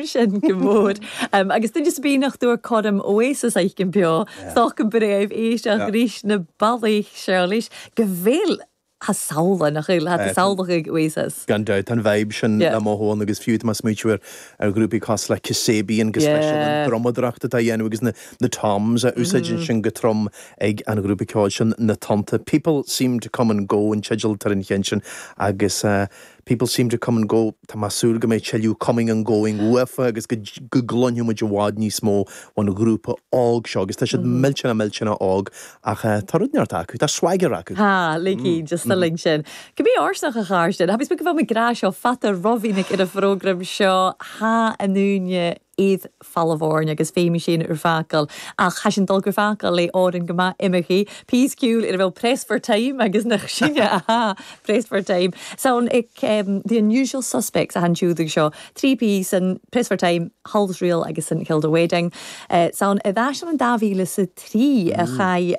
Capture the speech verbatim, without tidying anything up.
Sin go mór. Um, agus duine sa bíach dúir chom Oasis aici beo Stoch go bréibh éisteach ríis na bailí seis go bhfuil ha sála nach chuil ha sálacha Oasis. Gan dabht an vibe sin le mothú agus fiú más smaoinítear ar ghrúpaí cosúil le Kasabian agus leis an drumadóireacht atá dhéanamh agus na, na toms a úsáideann sin go trom ag an ghrúpa ceoil sin na Tonnta. People seem to come and go an teideal ar an cheann sin agus uh, people seem to come and go Tá súil go mbeidh tuilleadh coming and going uafa agus go go gcluinfidh muid i bhfad níos mó ón ghrúpa óg seo agus tá siad millteanach millteanach óg ach uh, tá rud neart acu, tá swagger acu. Ha, le just mm. link sin. Go bí ársnach a cháirsin, Ha go bhfuil grá seo fata rohína ar a phrogram seo há anúne iad falhhain agus féimi sin ar fácail ach cha sin dul gur fácail le áin go maith imechaí. Písciúil ar bhfuil pressed for time agus nach sinne aha pressed for time. So ag um, the unusual suspects a hanúdaigh seo trí piece an pressed for time Hull's Reel agus an Kilda Wedding. Uh, San i bhheis an dá mhíle sa trí a chaid